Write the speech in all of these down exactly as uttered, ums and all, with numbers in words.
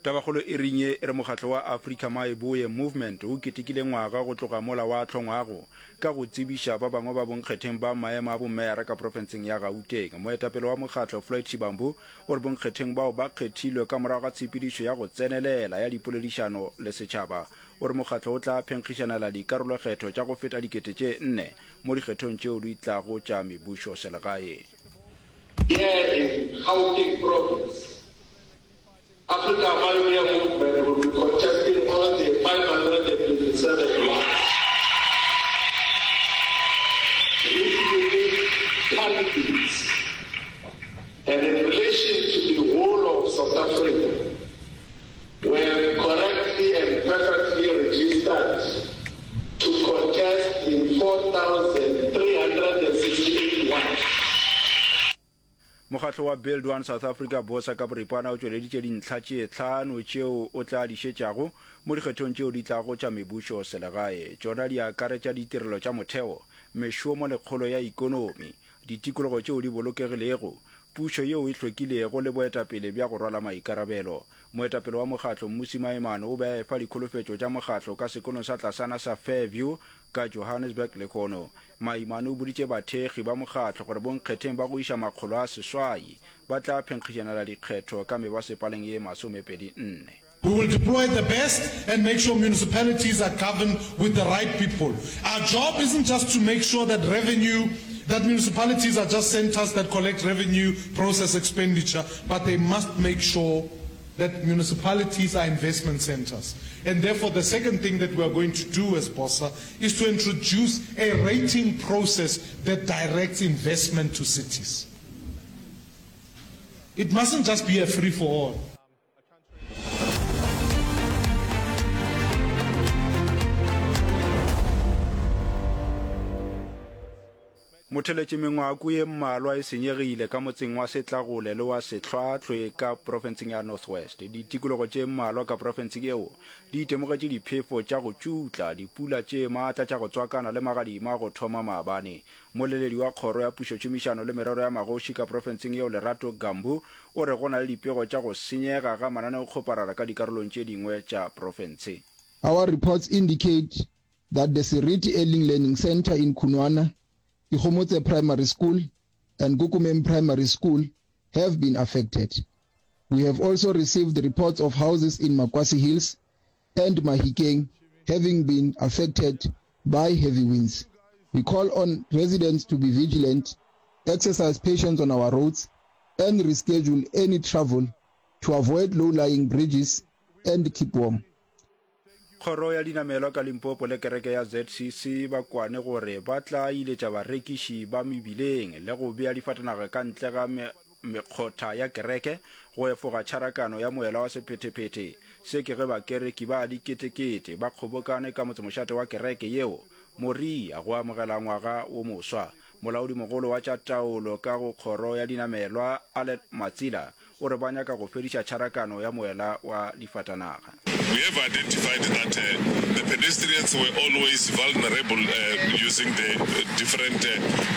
Tabakgolo e reng ye e re mokgatlo wa Africa Maeboye Movement o ketekile ngwaga go tloga mola wa hlongwago ka go tsebiša ba bangwe ba bonkgetheng ba maemo a bomeyara ka profenseng ya Gauteng. Moetapele wa mokgatlo Floyd Shivambu o re bonkgetheng bao ba kgethilwe ka morago ga tshepedišo ya go tsenelela ya dipoledišano le setšhaba. O re mokgatlo o tla phenkgišanela dikarolokgetho tša go feta dikete tše nne mo dikgethong tšeo di tlago tša mebušoselegae. Here in Gauteng province, Africa Mayoneer Movement will be contesting all the five hundred and twenty seven wards with unique candidates and in relation to the whole of South Africa were correctly and perfectly registered to contest in four thousand three hundred and sixty eight wards. Mokgatlo wa Build One South Africa, BOSA, ka boripana o tšweleditše dintlha tše hlano tšeo o tla di šetšago mo dikgethong tšeo di tlago tša mebušo selegae. Tšona di akaretša ditirelo tša motheo, mešomo le kgolo ya ikonomi, ditikologo tšeo di bolokegilego, pušo yeo e hlwekilego le boetapele bja go rwala maikarabelo. Moetapele wa mokgatlo, Mmusi Maimane, o be a efa dikholofetšo tša mokgatlo ka sekolong sa tlasana sa Fairview ka Johannesburg lehono. Maimane o boditše bathekgi ba mokgatlo gore bonkgetheng ba go iša makgolo a seswai ba tla phenkgišanela dikgetho ka mebasepaleng ye masomepedi nne. We will deploy the best and make sure municipalities are governed with the right people. Our job isn't just to make sure that revenue, that municipalities are just centers that collect revenue, process expenditure, but they must make sure that municipalities are investment centers. And therefore, the second thing that we are going to do as BOSA is to introduce a rating process that directs investment to cities. It mustn't just be a free-for-all. Motheletše mengwako ye mmalwa e senyegile ka motseng wa Setlagole le wa Sehlwahlwe ka profenseng ya North West. Ditikologo tše mmalwa ka profenseng yeo di itemogetše diphefo tša go tšutla, dipula tše maatla tša go tswakana le magadima go thoma maabane. Mmoleledi wa Kgoro ya Pušotšhomišano le Merero ya Magoši ka profenseng yeo Lerato Gambu o re go na le dipego tša go senyega ga mananeokgoparara ka dikarolong tše dingwe tša profense. Our reports indicate that the Seriti Early Learning Centre in Khunwana, Ikgomotse Primary School and Kukumeng Primary School have been affected. We have also received reports of houses in Makwasi Hills and Mahikeng having been affected by heavy winds. We call on residents to be vigilant, exercise patience on our roads and reschedule any travel to avoid low-lying bridges and keep warm. Kgoro ya Dinamelwa ka Limpopo le kereke ya Z C C ba kwane gore ba tla iletša barekiši ba mebileng le go bea difatanaga ka ntle ga mekgotha ya kereke go efoga tšharakano ya moela wa sephethephethe. Se ke ge bakereki ba diketekete ba kgobokane ka motsemošate wa kereke yeo, Moria, go amogela ngwaga wo moswa. Molaodimogolo wa tša taolo ka go Kgoro ya Dinamelwa, Allen Matsila, o re ba nyaka go fediša tšharakano ya moela wa difatanaga. We have identified that the pedestrians were always vulnerable using the different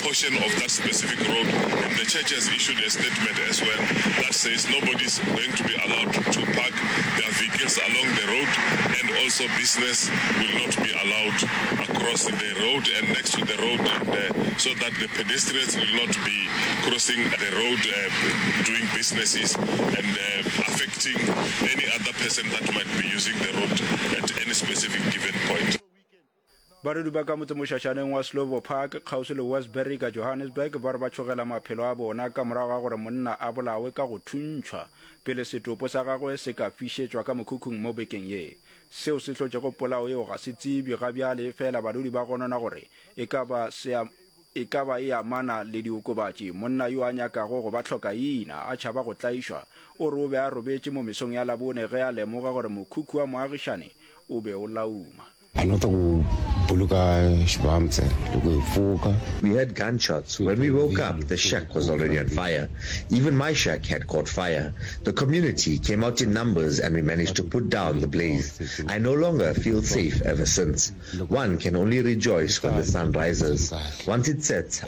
portion of that specific road and the church has issued a statement as well that says nobody is going to be allowed to park their vehicles along the road and also business will not be allowed across the road and next to the road and so that the pedestrians will not be crossing the road doing businesses and affecting any other person that might be using the road at any specific given point. Badudi ba ka motsemošašaneng wa Slovo Park kgauswi le Westbury ka Johannesburg ba re ba tšhogela maphelo a bona ka morago ga gore monna a bolawe ka go thuntšhwa pele setopo sa gagwe se ka fišetšwa ka mokhukhung mo bekeng ye. Seo se hlotšego polao yeo ga se tsebje ga bjale efela badudi ba gonona gore e ka ba se e ka ba e amana le diokobatši. Monna yo a nyakago go ba hlokaina a tšhaba go tlaišwa, o re o be a robetše mo mesong ya Labone ge a lemoga gore mokhukhu wa moagišane o be o lauma. A no tla go boloka xibamtse loko hi pfuka. We heard gunshots. When we woke up, the shack was already on fire. Even my shack had caught fire. The community came out in numbers and we managed to put down the blaze. I no longer feel safe ever since. One can only rejoice when the sun rises. Once it sets,